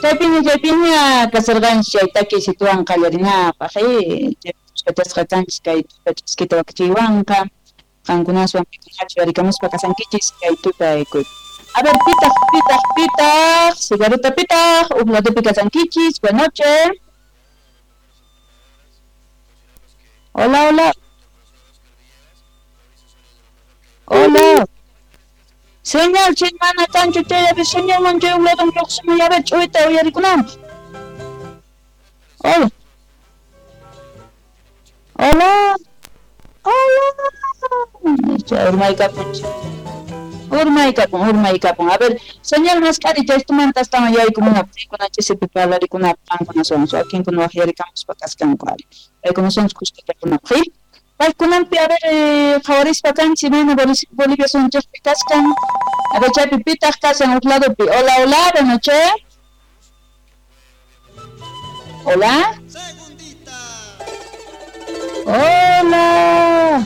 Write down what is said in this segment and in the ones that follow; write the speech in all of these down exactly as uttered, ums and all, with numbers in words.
Chaypiña chaypiña kasarqanchis chay takiysituwan qallarinapaq, eh, chaypi kanchis kay tuta wakichiywanqa, qankunaswan pikunachu yarikamuspa kasankichis kay tutaykuy. A ver, pitaq, pitaq, pitaq, cigarrita pitaq, uj ladopi kasankichis, buenas noches. Hola, hola. Hola. Señal, chay mana kanchu chay, señal man chay uj ladon lluqsimuy, a ver, ch'uyta uyarikunanpaq. Hola. Hola. Hola. Chay urmaykapun. Urmaykapun, urmaykapun. A ver, señal mask'ari chaystumanta astawan yaykumunapaq, rikunachisipi parlarikunapaq qankunaswan, wakinkuna waqyarikamuspa kaskanku ari. Paykunaswanchus kuskachakunapaq, ¿sí? Paykunanpi, a ver, eh, qhawarispa kanchis imayna Bolivia sunchikpi kaskan. A ver, chaypi pitaq kasan uj ladopi. Hola, hola, buenas noches. Hola. Hola.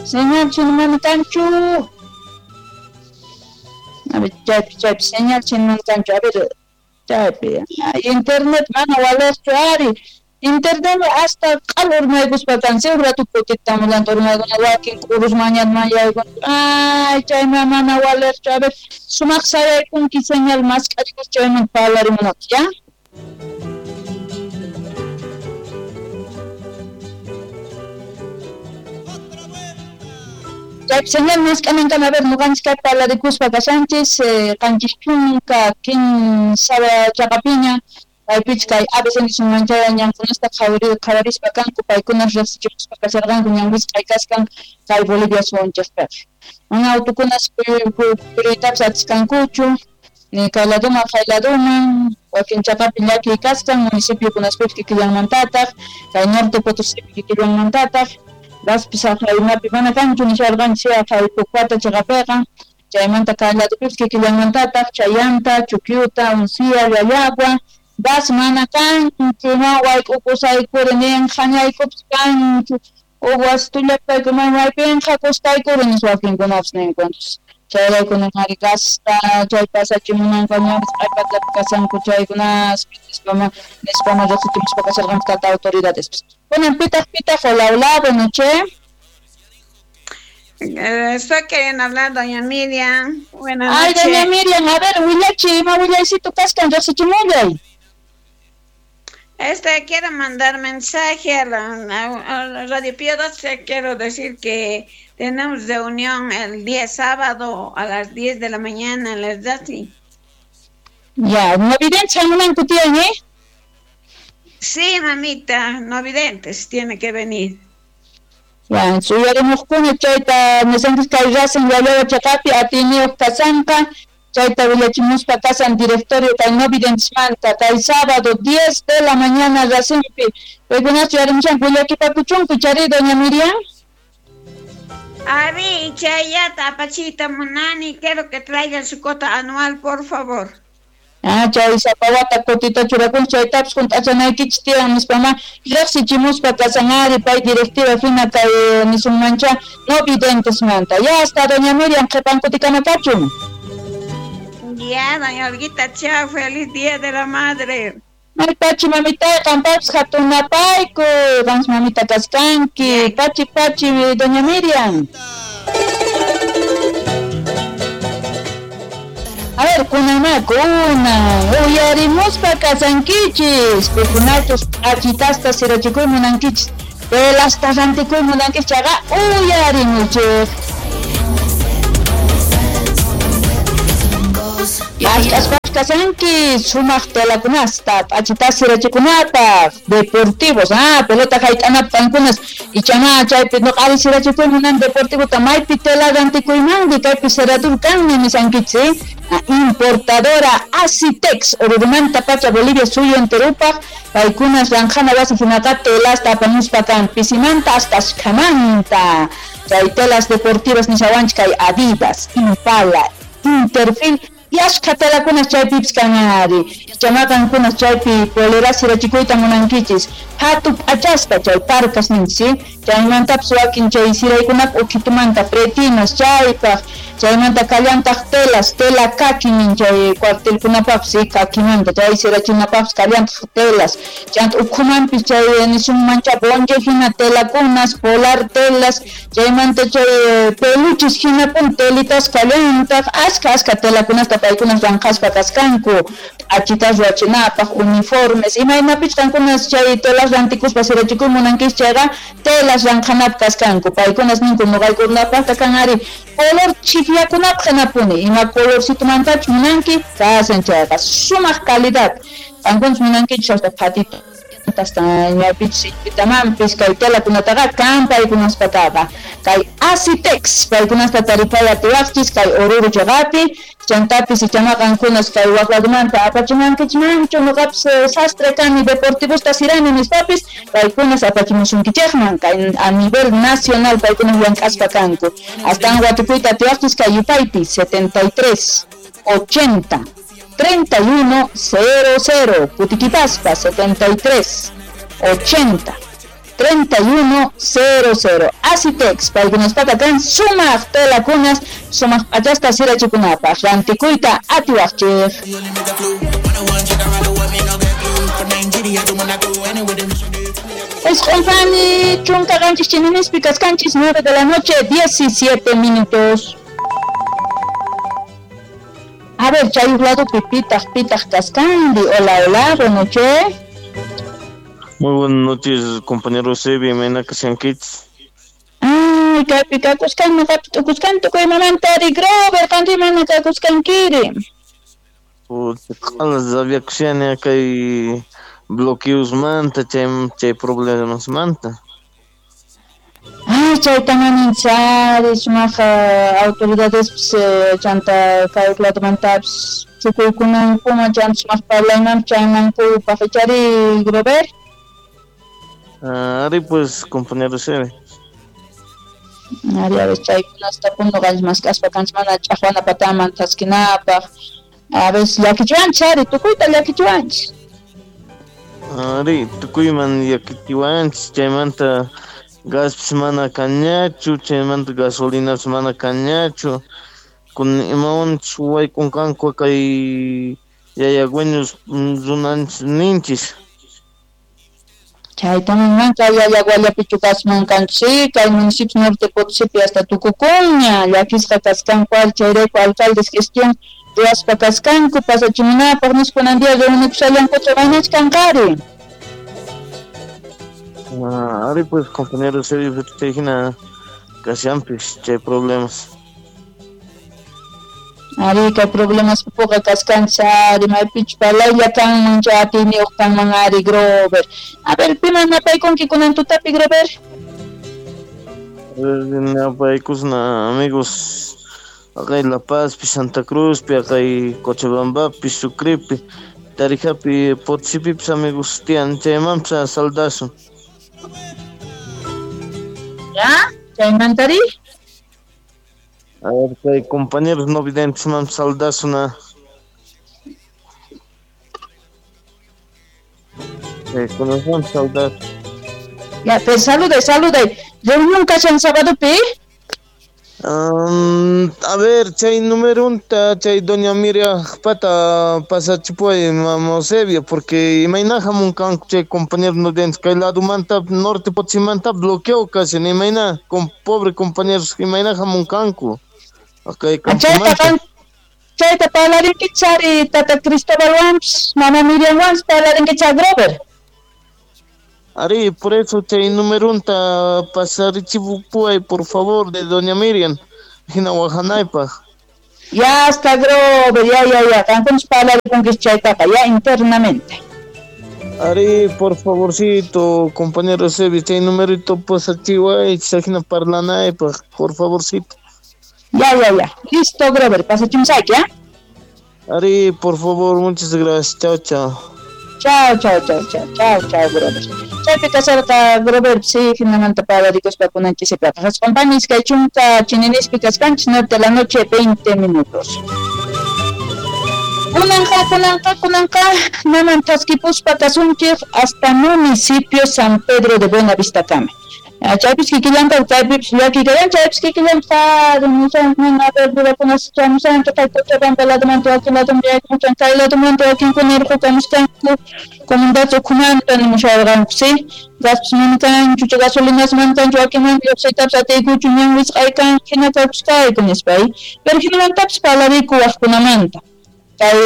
Señal chinmana kanchu. A ver, chaypi, chaypi, señal chinmana kanchu. A ver, chaypi. Ay, internet mana walerchu ari. Internet hasta q'al urmaykuspa kan, uj rato kutitamulanta urmaykuna wakin k'urus mañanman yaykun. Ay, chayma mana walerchu. A ver, sumaq sayaykunki señal mask'arikus chayman parlarimunapaq, ya? Chay señal mask'anankama, a ver, nuqanchis kay parlarikuspa kashanchis, eh, qanchis chunka kinsa chaqapiña, kaypich kay A B C nisunmanchaya ñankunasta qhawarispa kanku, paykunas riqsichikuspa kasharqanku ñan wisq'ay kaskan kay Bolivia suwanchikpiqa. Mana autukunas puriytapas atiskankuchu, ni kay laduman kay laduman, wakin chaqapi llakiy kaskan, municipiokunaspipis kikillanmantataq, kay Norte Potosípi kikillanmantataq, gaspis aqhaymapi mana kanchu nisharqanchis kay Pucpata chaqapiqa, chaymanta kay ladupipis kikillanmantataq, Chayanta, Chuquiuta, Uncía, Llallagua, gas mana kanchu, ma wayk'ukusaykuri nin hañaykupis kanchu, uj wasitullapayku man maypinqa kustaykuri nispa wakinkunapis ninku. Chayrayku nin ari gasta chay pasachimunanku ñanpis q'aypatapi kasanku chaykunaspi nispa nispa riqsichimuspa kasharqanku tata autoridadespis. Kunan pitaq pitaq, hola, hola, buenas noches. Eh, estoy queriendo hablar, doña Miriam. Buenas Ay, noches. Doña Miriam, a ver, willachi, ima willaycito kaskan riqsichimullay. Este, quiero mandar mensaje a la, a, a la Radio Pío doce. Quiero decir que tenemos reunión el día sábado a las diez de la mañana en las doce. Ya, no videntes hamunanku tiyan, ¿eh? Sí, mamita, no videntes, tiene que venir. Ya, suyarimuqkuna chayta nisanchis kay rasin Llallagua chaqapi atiyniyuq kasanqa, chayta willachimuspa kasan directorio kay no videntesmanta kay sábado diez de la mañana rasinpi. Paykunachu yarimushanku willakipakuchunku chari, doña Miriam. Ari, chayata apachita munani, quiero que traigan su cuota anual, por favor. Ah, chay sapawata kutita churakun chaytapas hunt'achanaykichis tiyan nispa ma riqsichimuspa kasan ari pay directiva hina kay nisunmancha no videntesmanta. Ya hasta doña Miriam qhipan kutikama kachun. Ya, doña Olguita, chao, feliz día de la madre. Ay, pachi mamita, qampapis hatunapayku, qanchis mamita kaskanki, pachi pachi doña Miriam. A ver, kunama, kunan, uyarimuspa kasankichis, pikunachus p'achitasta sirachikuy munankichis, pelasta rantikuy munankichis, chayqa uyarimuchik. Mask'aspapas kasanki sumaq telakunasta, p'achitas sirachikunapaq, deportivos, ah, pelota hayt'anapaq qankunas, ichama chaypi nuqari sirachikuy munan deportivota maypi tela rantikuymanri, kaypi siradur kanmi nisankichis, ¿eh? Importadora Asitex, Orurumanta pacha Bolivia suyo enterupaq, paykunas ranjana wasi hinaqa telasta apamuspa kan pisimanta hasta ashkhamanta, chay telas deportivas nishawanchik kay Adidas, Impala, Interfil, y ashkha telakunas chaypipis kan ari, chamaqankunas chaypi polera sirachikuyta munankichis, hatu p'achasta chay parkas ninchis, ¿sí? Chaymantapis wakin chay siraykunap ukhitumanta pretinas chaypaq, Chaymanta kallantaq telas, tela kaki chay cuartelkunapaqpis kakimanta chay sirachinapaqpis kallantaq telas. Chanta ukhumanpis chay nisunmancha bonche hina telakunas, polar telas, chaymanta chay peluches hinapun telitas kallantaq, aska aska telakunasta paykunas ranqaspa kaskanku, achitas ruwachinapaq, uniformes, imaynapich qankunas chay telas rantikuspa sirachikuy munankis chayqa telas ranqanapaq kaskanku, paykunas ninku nuqaykunapaqta kan ari color chikllakunapaq hinapuni, ima colorcitumantach munanki kasan chayqa sumaq calidad, qankunas munankichus hasta patito hasta imapich pitamanpis kay telakunataqa kan paykunaspataqa kay Asitex paykunasta taripay atiwaqchis kay Oruro chaqapi chantapis ichama qankunas kay waq ladumanta apachimankichmanchu nuqapis sastre kani deportivosta sirani nispapis paykunas apachimusunkichikman kay a nivel nacional paykunas llank'aspa kanku astawan watukuyta atiwaqchis kay yupaypi setenta y tres ochenta treinta y uno cero cero, Putiquipaspa setenta y tres ochenta treinta y uno cero cero. Asitex, paykunaspata kan sumaq telakunas, sumaq p'achasta sirachikunapaq, rantikuyta atiwaqchik. Esqunpani chunka qanchis chininispi kaskanchis, nueve de la noche, diecisiete minutos. A ver, chay lado pitaq pitaq kaskanri. Hola, hola, buenas noches. Muy buenas noches, compañero Sebi, imayna kashankichis. Ay, kaypi kakuskan noqapi tukuskan tukuy mamantari Grover, qanri imayna kakuskankiri. Q'alas rabiakushani kay bloqueosmanta, chay chay problemasmanta. Ay, chayta manin chari, sumaq autoridades chanta kay ladumantapis chukuykunankuma chanta sumaq parlayman chaynankupaq ichari Grover. Ari pues, compañero Sebi. Ari, a ver, chaykunasta punuqanchis mask'aspa kanchis mana ch'aqwana pataman thaskinapaq. A ver, llakichiwanchis ari, tukuyta llakichiwanchis. Ari, tukuyman llakichiwanchis, chaymanta gaspis mana kanñachu, chaymanta gasolinapis mana kanñachu, kun imawanchis waykunqanku kay yayagüeños runanchis ninchis. Chaytaman kay yayaguallapichu kasman kanchis, kay municipio Norte Potosípi hasta tukukunña, llakisqa kaskanku ari chayrayku alcaldes gestión ruwaspa kaskanku pasachimunapaq nispa kunan día reunikushallankucha maynach kanqari. Ah, ari pues, compañero Sergio, chay hina kashanpis chay problemas. Ari kay problemas puqa kaskanchis ari maypichu parlaylla kanman chay atiyniyuq kanman ari Grover. A ver, piman napaykunki kunan tutapi Grover? A ver, napaykusna amigos akay La Pazpi, Santa Cruzpi, akay Cochabambapi, Sucrepi, Tarijapi, Potosipipis amigos tiyan, chaymanpis saldasun. ¿Ya? ¿Chaymantari? A ver, kay compañeros no videntes man saldasuna. Eh, conocemos saldar. Ya, pues salude, salude. Reunión kashan sábado pi? Um, a ver, chay número unta, chay doña Miriam pata pasachipuay mamosebio, porque imayna hamunkanku chay compañeros no videntes kay ladumanta norte Potosímanta bloqueo casi, imayna con pobre compañeros imayna hamunkanku. Okay, chayta chayta parlarinkichari tata Cristóbal Wams, mama Miriam Wams parlarinkicha Grover. Ari, por eso chay número unta pasarichipuay, por favor, de doña Miriam, hina wajanaypaq. Ya está Grover, ya, ya, ya, qankunas parlarikunkichis chaytaqa, ya internamente. Ari, por favorcito, compañero Sebi, chay numerito pasachiway, hina parlanaypaq, por favorcito. Ya, ya, ya. Listo, Grover, pasachimusayki, ¿ya? Ari, por favor, muchas gracias. Chao, chao. Chao, chao, chao, chao, chao, chao, Grover. Chaypi kasarqa Grover, sí, hinamanta parlarikuspa kunanchisipaq. Hasqunpanis kay chunka chininispi kaskanchis, nueve de la noche, veinte minutos. Kunanqa, kunanqa, kunanqa, naman thaskipuspa kasunchik hasta municipio San Pedro de Buenavista kama. Chaypis kikillanta chaypipis llakiykayan chaypis kikillanta nisan mana verdurakunas chamusanchu kay Cochabamba ladomanta wakin ladomanta yaykumushan kay ladomanta wakinkuna irqukamuskanku comunidad ukhumanta nimusharqanku si gaspis mana kanchu chay gasolinas mana kanchu wakinmanta lluqsiytapis atiykuchu ñan wisq'aykan hina kawpuskayku nispa pero hinamantapis parlariku waqkunamanta kay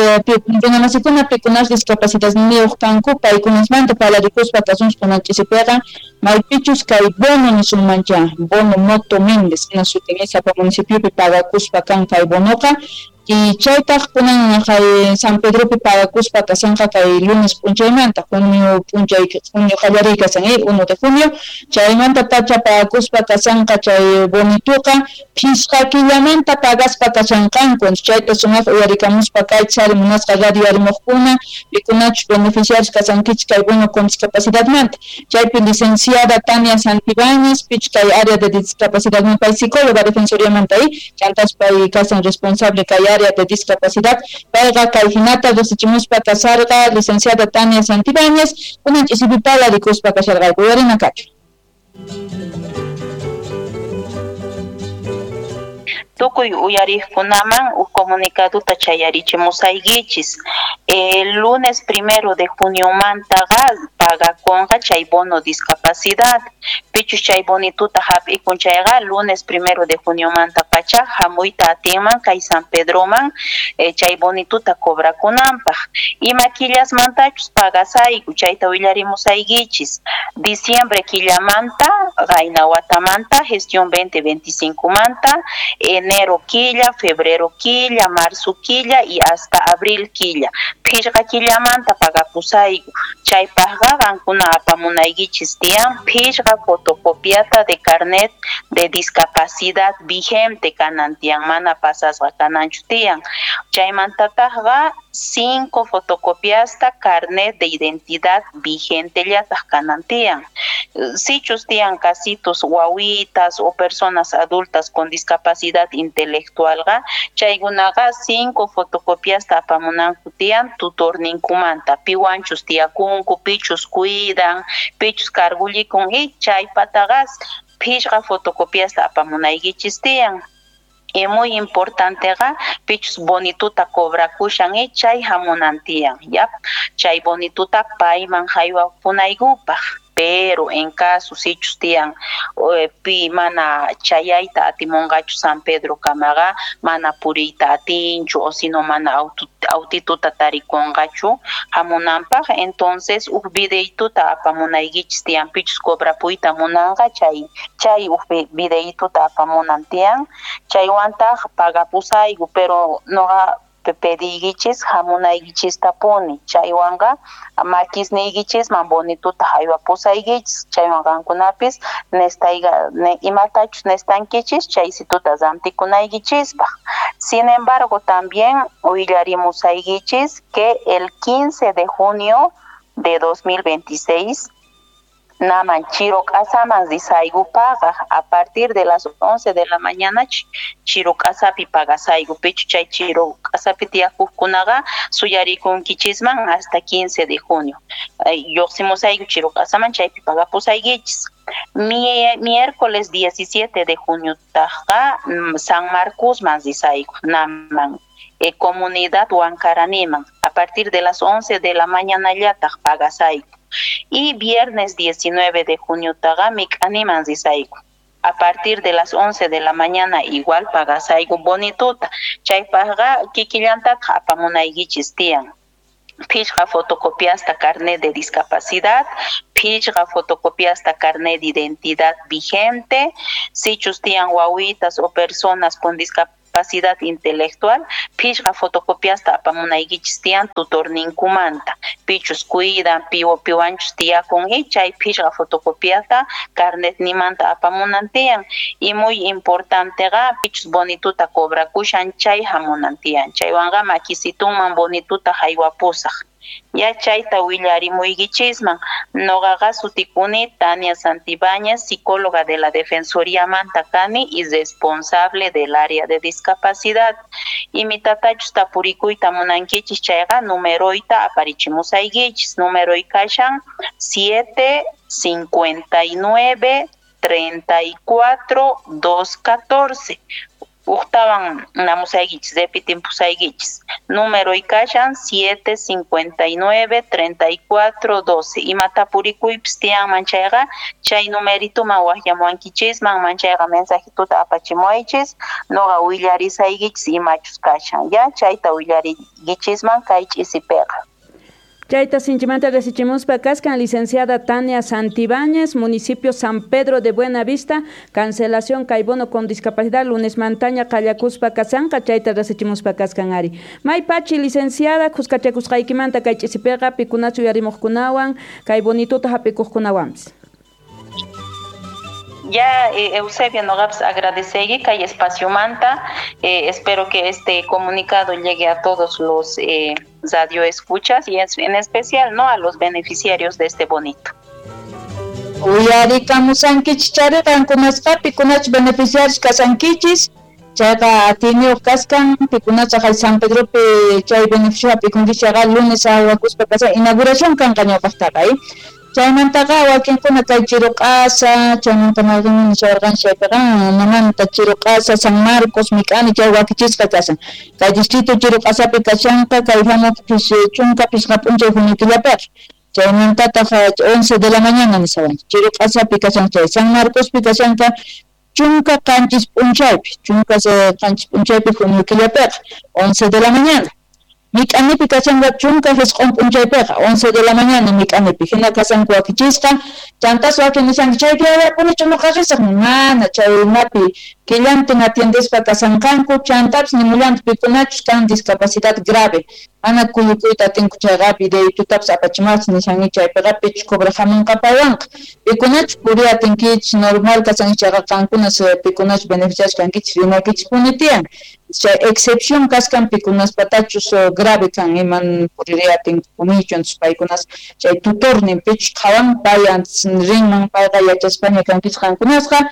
runamasikuna pikunas discapacidadniyuq kanku paykunasmanta parlarikuspa kasunchis kunan ch'isipiqa maypichus kay bono nisunmancha bono Moto Méndez hina sutin sapa municipiopi pagakuspa kan kay bonoqa y chaytaq kunan kay San Pedropi pagakuspa kasanqa kay lunes p'unchaymanta junio p'unchay junio qallariy kasan uno de junio chaymanta pacha pagakuspa kasanqa chay bonituqa phisqa killamanta pagaspa kashanqanku chayta sumaq uyarikamuspa kay chari munasqa radio arimuqkuna pikunachus beneficiarios kasankichik kay bono con discapacidadmanta chaypi licenciada Tania Santibáñez pich kay área de discapacidad pay psicóloga defensoriamanta chantas pay kasan responsable kay área de discapacidad payqa kay hinata riqsichimuspa kasarqa licenciada Tania Santibáñez kunan ch'isipi parlarikuspa kasharqayku uyarina kachu. Tukuy uyariqkunaman uj comunicaduta chayarichimusaykichis. El lunes primero de junio mantaqa pagakunqa chay bono discapacidad. Pichus chay bonituta hap'ikun chayqa lunes primero de junio manta pacha hamuyta atinman kay San Pedroman eh, chay bonituta cobrakunanpaq. Ima killasmantachus pagasayku chayta willarimusaykichis. Diciembre killamanta qayna watamanta gestión veinte veinticinco manta enero killa, febrero killa, marzo killa y hasta abril killa. Phishqa killamanta pagapusayku. Chaypaqqa qankuna apamunaykichis tiyan phishqa fotocopiata de carnet de discapacidad vigente kanan tiyan, mana pasasqa kananchu tiyan. Chaymantataqqa cinco fotocopiasta carnet de identidad vigente llataq kanan tiyan. Sichus tiyan casitos wawitas o personas adultas con discapacidad intelectualqa chaykunaqa cinco fotocopiasta apamunanku tiyan tutorninkumanta piwanchus tiyakunku pichus cuidan pichus cargullikun y chaypataqa phishqa fotocopiasta apamunaykichis tiyan. Y muy importanteqa pichus bonituta cobrakushan y chay hamunan tiyan, ya chay bonituta payman haywapunaykupaq. Pero en caso sichus tiyan pi mana chayayta atimunqachu San Pedro kamaqa mana puriyta atinchu o sino mana autituta tarikunqachu hamunanpaq entonces uj videituta apamunaykichis tiyan pichus cobrapuyta munanqa chay chay uj videituta apamunan tiyan chaywantaq pagapusayku pero noqa pediykichis hamunaykichistapuni chaywanqa makisniykichisman bonituta haywapusaykichis chaywan qankunapis nestayqa ne, imatachus nestankichis chaysituta rantikunaykichispaq. Sin embargo también willarimusaykichis que el quince de junio de dos mil veintiséis naman Chiroc'asaman risayku pagaq a partir de las once de la mañana Chiroc'asapi pagasayku pichu chay Chiroc'asapi tiyakuqkunaqa suyarikunkichisman hasta quince de junio lluqsimusayku Chiroc'asaman chaypi pagapusaykichis. Miércoles diecisiete de junio tajqa San Marcosman risayku naman eh, comunidad Huancaraniman a partir de las once de la mañana llataq pagasayku. Y viernes diecinueve de junio taqa mik'animan risayku a partir de las once de la mañana igual pagasayku bonituta chaypaqqa kikillantataq apamunaykichis tiyan. Phishqa fotocopiasta carnet de discapacidad, phishqa fotocopiasta carnet de identidad vigente, sichus tiyan wawitas o personas con discapacidad intelectual, phishqa fotocopiasta apamunaykichis tiyan tutorninkumanta, pichus cuidan, piwo piwanchus tiyakun y chay phishqa fotocopiata carnetnimanta apamunan tiyan. Y muy importanteqa pichus bonituta cobrakushan chay hamunan tiyan, chaywanqa makisitunman bonituta haywapusaq. Ya chayta willarimuykichisman. Noqaqa sutikuni Tania Santibáñez, psicóloga de la Defensoría Manta kani y responsable del área de discapacidad. Y mi tatachus tapurikuyta munankichis chayqa numeroyta aparichimusaykichis. Numeroy kashan siete cincuenta y nueve treinta y cuatro, dos catorce. Ujtawan namusaykichis, repitimpusaykichis. Número ikashan siete cincuenta y nueve, treinta y cuatro, doce. Imatapurikuypis tiyanman chayqa, chay numerituman waqyamuwankichisman, manchayqa mensajituta apachimuwaychis, noqa willarisaykichis imachus kashan. Ya chayta willarikichisman kay ch'isipiqa. Chayta sinchimanta resichimuspa kaskan licenciada Tania Santibáñez, municipio San Pedro de Buenavista, cancelación kay bono con discapacidad, lunes mantaña qallakuspa kasanqa, chayta resichimuspa kaskan ari. May pachi licenciada, khuskachakusqaykimanta kay ch'isipiqa pikunachu uyarimuqkunawan, kay bonituta hap'ikuqkunawanpis. Ya, eh, Eusebio, noqapas agradecegi kay espacio manta. Eh, espero que este comunicado llegue a todos los eh, radioescuchas y en especial, ¿no?, a los beneficiarios de este bonito. Uyarikamusankichis chari qankunasqa pikunachus beneficiarios kasankichis, chayqa atiyniyuq kaskan pikunachus jay San Pedropi chay beneficio hap'ikunkichis chayqa lunes aywakuspa kasan inauguración kanqa ñawpaqtaqa, eh. Chaymantaqa wakinkuna kay Chiruq'asa, chaymanta mayqinmi nishawarqan chaypiqa mamanta Chiruq'asa, San Marcos, Mik'ani chay wakichisqa kashan. Kay distrito Chiruq'asapi kashanqa kay hamuq chunka pishqa p'unchay junio killapiqa. Chaymantataq once de la mañana nishawanchik. Chiruq'asapi kashan chay San Marcospi kashanqa chunka qanchis p'unchaypi, chunka qanchis p'unchaypi junio killapiqa, once de la mañana. Mik'anipi kashanqa chunka jisq'un p'unchaypiqa, once de la mañana mik'anipi. Hina kasanku wakichisqa, chantas wakin nishanku chaypi awapunichu nuqa risaq, mana chaynapi killantin atiendespa kasanqanku, chantapis nimullantaq pikunachus kan discapacidad grave, mana kuyukuyta atinku chayqa videitutapis apachimaqchis nishanki chaypiqa pichus cobraq hamunqa paywanqa. Pikunachus puriy atinkichis normal kasanki chayqa qankunas pikunachus beneficiarios kankichis rinaykichispuni tiyan. Chay excepción kaskan pikunaspatachus grave kan iman puririy atinkupunichu, entonces paykunas chay tutornin pichus qhawan pay antes rinman payqa yachaspaña kankichis qankunasqa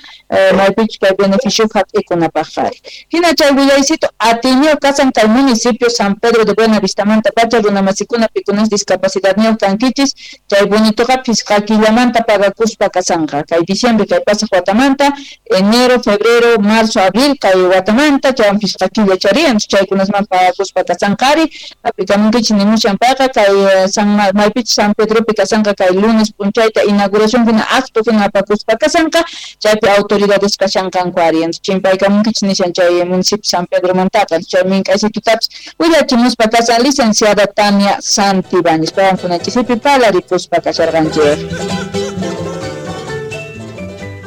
maypichus kay beneficio hap'ikunapaq ari. Hina chay willaycito atiyniyuq kasan kay municipio San Pedro de Buenavistamanta pacha runamasikuna pikunas discapacidadniyuq kankichis, chay bonitoqa phisqa killamanta pagakuspa kasanqa kay diciembre kay pasaq watamanta, enero, febrero, marzo, abril kay watamanta chaywan phisqa killa chariyan chaykunasman pagakuspa kasanqa ari. Hap'ikamunkichis nimushan payqa kay San maypichus San Pedropi kasanqa kay lunes p'unchayta inauguración hina acto hina apakuspa kasanqa chaypi autoridades kashanqanku ari. Chimpaykamunkichis nishan chay municipio San Pedromantaqa chay mink'aysitutapis willachimuspa kasan licenciada Tania Santibáñez paywan kunanchisipi parlarikuspa kasharqanchik.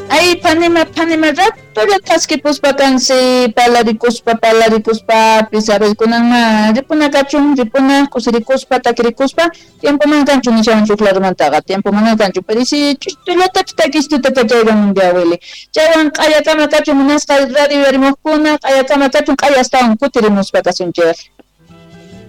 Ay, panima, panima, ratolla thaskipuspa kansi, parlarikuspa, parlarikuspa, pisabelkunanma, ripuna kachun, ripuna, kusirikuspa, takirikuspa, tiempo man kanchu nishawan chuklarumantaqa, tiempo mana kanchu, pero si chustullatapis takistuta kachaywan yawili. Chaywan q'ayakama kachun munasqa radio yarimuqkuna, q'ayakama kachun q'aya astawan kutirimuspa kasunchik.